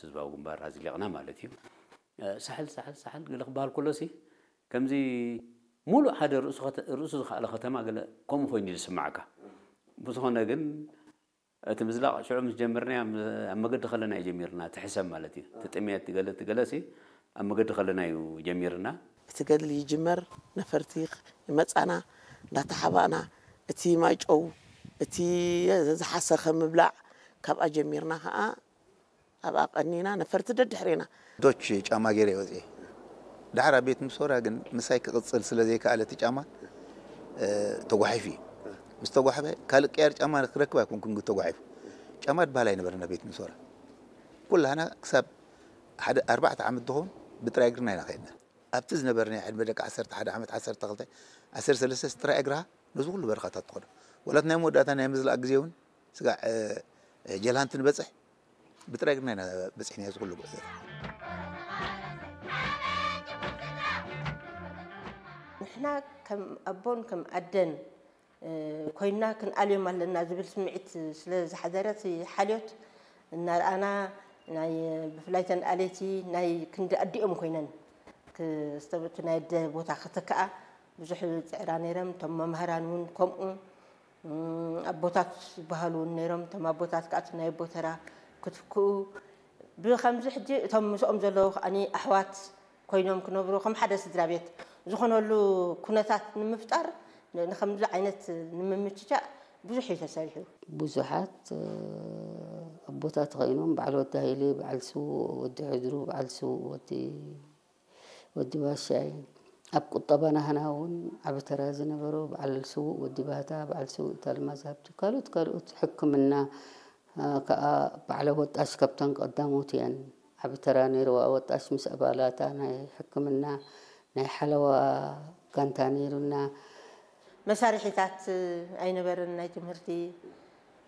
ህዝባዊ ግንባር ኣዝሊቕና ማለት እዩ። ሳሕል ሳሕል ሳሕል ገለ ክበሃል ከሎሲ ከምዚ ሙሉእ ሓደ ርእሱ ዝኸኣለ ከተማ ገለ ከምኡ ኮይኑ እዩ ዝስማዓካ። ብዝኾነ ግን እቲ ምዝላቕ ሽዑ ምስ ጀመርናዮ ኣብ መገዲ ከለና እዩ ጀሚርና፣ እቲ ሕሰም ማለት እዩ። እቲ ጥሜት ገለ እቲ ገለሲ ኣብ መገዲ ከለና እዩ ጀሚርና። እቲ ገድሊ ይጅመር፣ ነፈርቲ ይመጻና፣ እንዳተሓባእና እቲ ማይጨው እቲ ዝሓሰኸ ምብላዕ ካብኣ ጀሚርና ከኣ ኣብኣ ቀኒና ነፈርቲ ደድሕሬና። ዶች ጫማ ገይረ እየ ወፅኤ። ዳሕር ኣብ ቤት ምሶራ ግን ምሳይ ክቕፅል ስለ ዘይከኣለ እቲ ጫማ ተጓሒፉ እዩ። ምስ ተጓሕፈ ካልእ ቅያር ጫማ ክረክብ ኣይኮንኩን ግን ተጓሒፉ። ጫማ ዝበሃል ኣይነበረና ቤት ምሶራ። ኩላህና ክሳብ ሓደ ኣርባዕተ ዓመት ዝኸውን ብጥራይ እግርና ኢና ከይድና። ኣብቲ ዝነበረ ናይ ዕድመ ደቂ ዓሰርተ ሓደ ዓመት ዓሰርተ ክልተ ዓሰርተ ሰለስተ ጥራይ እግርኻ ነዚ ኩሉ በረኻታት ትኸዶ። ወላት ናይ መወዳእታ ናይ ምዝላእ ግዜ እውን ስጋዕ ጀልሃንቲ ንበፅሕ ብጥራይ እግርና ኢና በፂሕና እዚ ኩሉ ጉዕዞ። ንሕና ከም ኣቦን ከም ኣደን ኮይንና ክንኣልዮም ኣለና ዝብል ስምዒት ስለ ዝሓደረ እቲ ሓልዮት እናረኣና ናይ ብፍላይ ተን ኣለይቲ ናይ ክንዲ ኣዲኦም ኮይነን ክስተብቱ ናይ ኣደ ቦታ ክተክኣ ብዙሕ ዝፅዕራ ነይረን። እቶም መምህራን እውን ከምኡ ኣቦታት ዝበሃሉ እውን ነይሮም። እቶም ኣቦታት ከዓ እቲ ናይ ኣቦ ተራ ክትክኡ ብኸምዚ ሕጂ እቶም ምስኦም ዘለዉ ከዓኒ ኣሕዋት ኮይኖም ክነብሩ ከም ሓደ ስድራ ቤት ዝኾነሉ ኩነታት ንምፍጣር ንኸምዚ ዓይነት ንምምችቻእ ብዙሕ እዩ ተሰሪሑ። ብዙሓት ኣቦታት ኮይኖም በዓል ወዲ ሃይሌ፣ በዓል ስውእ ወዲ ሕድሩ፣ በዓል ስውእ ወዲ ወዲ ባሻይ ኣብ ቁጠባ ናህና እውን ዓቢ ተራ ዝነበሮ በዓል ስውእ ወዲ ባህታ፣ በዓል ስውእ ተልማዝ ሃብቱ፣ ካልኦት ካልኦት ሕክምና ከዓ በዓል ኣወጣሽ ካብተን ቀዳሞት እየን። ዓቢ ተራ ነይርዋ። ኣወጣሽ ምስ ኣባላታ ናይ ሕክምና ናይ ሓለዋ ጋንታ ነይሩና። መሳርሒታት ኣይነበረን ናይ ትምህርቲ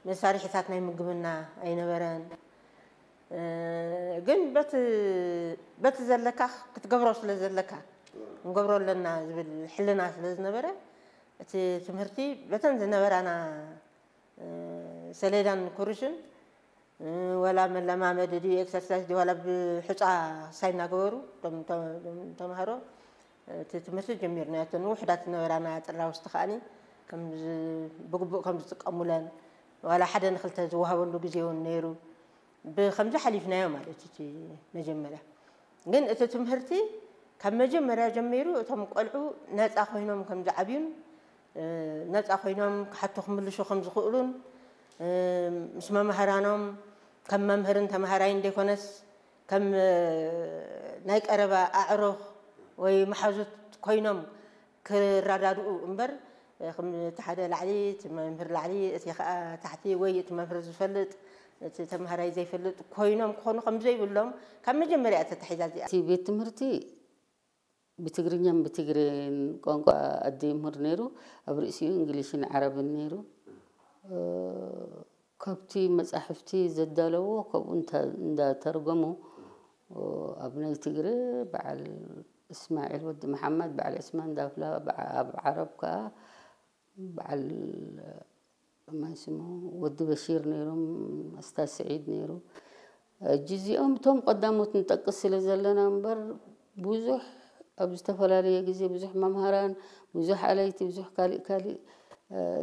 መሳርሒታት ናይ ምግብና ኣይነበረን። ግን በቲ ዘለካ ክትገብሮ ስለ ዘለካ ክንገብሮ ኣለና ዝብል ሕልና ስለ ዝነበረ እቲ ትምህርቲ በተን ዝነበራና ሰሌዳን ኩርሽን ዋላ መለማመዲ ድዩ ኤክሰርሳይዝ ድዩ ዋላ ብሑፃ ሳይ እናገበሩ ተምሃሮ እቲ ትምህርቲ ጀሚርናዮ። እተን ውሑዳት ዝነበራና ጥራውስቲ ከዓኒ ብግቡእ ከም ዝጥቀሙለን ዋላ ሓደ ንክልተ ዝወሃበሉ ግዜ እውን ነይሩ። ብከምዚ ሓሊፍናዮ ማለት እቲ መጀመርያ ግን እቲ ትምህርቲ ካብ መጀመርያ ጀሚሩ እቶም ቆልዑ ነፃ ኮይኖም ከም ዝዓብዩን ነፃ ኮይኖም ክሓቱ ክምልሹ ከም ዝኽእሉን ምስ መምህራኖም ከም መምህርን ተምሃራይን ዘይኮነስ ከም ናይ ቀረባ ኣዕሩኽ ወይ መሓዙት ኮይኖም ክረዳድኡ እምበር እቲ ሓደ ላዕሊ እቲ መምህር ላዕሊ እቲ ከዓ ታሕቲ ወይ እቲ መምህር ዝፈልጥ እቲ ተምሃራይ ዘይፈልጥ ኮይኖም ክኾኑ ከም ዘይብሎም ካብ መጀመርያ እያ ተታሒዛ እዚኣ። እቲ ቤት ትምህርቲ ብትግርኛን ብትግሬን ቋንቋ ኣደ ይምህር ነይሩ። ኣብ ርእሲኡ እንግሊሽን ዓረብን ነይሩ። ካብቲ መጻሕፍቲ ዘዳለዎ ካብኡ እንዳተርጎሙ ኣብ ናይ ትግረ በዓል እስማዒል ወዲ መሓመድ በዓል ዑስማን ዳፍላ ኣብ ዓረብ ከኣ በዓል መን ስሙ ወዲ በሺር ነይሮም ኣስታዝ ስዒድ ነይሩ። ሕጂ እዚኦም እቶም ቀዳሞት ንጠቅስ ስለ ዘለና እምበር ብዙሕ ኣብ ዝተፈላለየ ግዜ ብዙሕ መምሃራን ብዙሕ ኣለይቲ ብዙሕ ካሊእ ካሊእ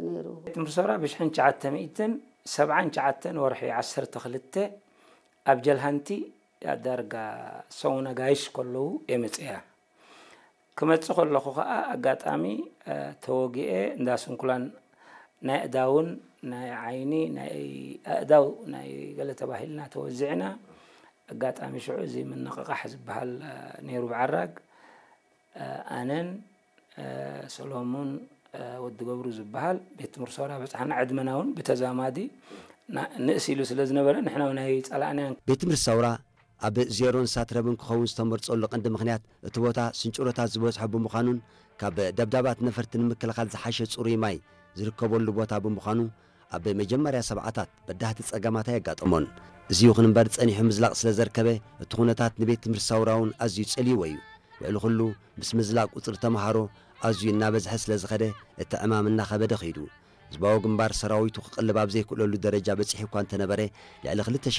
ነይሩ። ትምህርቲ ሰውራ ብሽሕን ትሽዓተ ሚእትን ሰብዓን ትሽዓተን ወርሒ ዓሰርተ ክልተ ኣብ ጀልሃንቲ ዳርጋ ሰሙነ ጋይሽ ከለዉ እየ መፅእያ። ክመፅእ ከለኹ ከዓ ኣጋጣሚ ተወጊኤ እንዳ ስንኩላን ናይ ኣእዳውን ናይ ዓይኒ ናይ ኣእዳው ናይ ገለ ተባሂልና ተወዚዕና ኣጋጣሚ ሽዑ እዚ ምንቕቓሕ ዝበሃል ነይሩ ብዓራግ ኣነን ሰሎሙን ወዲ ገብሩ ዝበሃል ቤት ትምህርቲ ሰውራ በፃሕና ዕድመና እውን ብተዛማዲ ንእስ ኢሉ ስለ ዝነበረ ንሕና ናይ ፀላእናያን ቤት ትምህርቲ ሰውራ ኣብ ዜሮን ሳትረብን ክኸውን ዝተመርጸሉ ቀንዲ ምኽንያት እቲ ቦታ ስንጭሮታት ዝበዝሖ ብምዃኑን ካብ ደብዳባት ነፈርቲ ንምክልኻል ዝሓሸ ጽሩይ ማይ ዝርከበሉ ቦታ ብምዃኑ ኣብ መጀመርያ ሰብዓታት በዳህቲ ጸገማት ኣየጋጠሞን። እዚ ይኹን እምበር ጸኒሑ ምዝላቕ ስለ ዘርከበ እቲ ኩነታት ንቤት ትምህርቲ ሳውራ እውን ኣዝዩ ጸልይዎ እዩ። ልዕሊ ኩሉ ምስ ምዝላቕ ቁጽሪ ተመሃሮ ኣዝዩ እናበዝሐ ስለ ዝኸደ እቲ ዕማም እናኸበደ ኸይዱ። ህዝባዊ ግንባር ሰራዊቱ ክቕልብ ኣብ ዘይክእለሉ ደረጃ በጺሑ እኳ እንተነበረ ልዕሊ ክልተ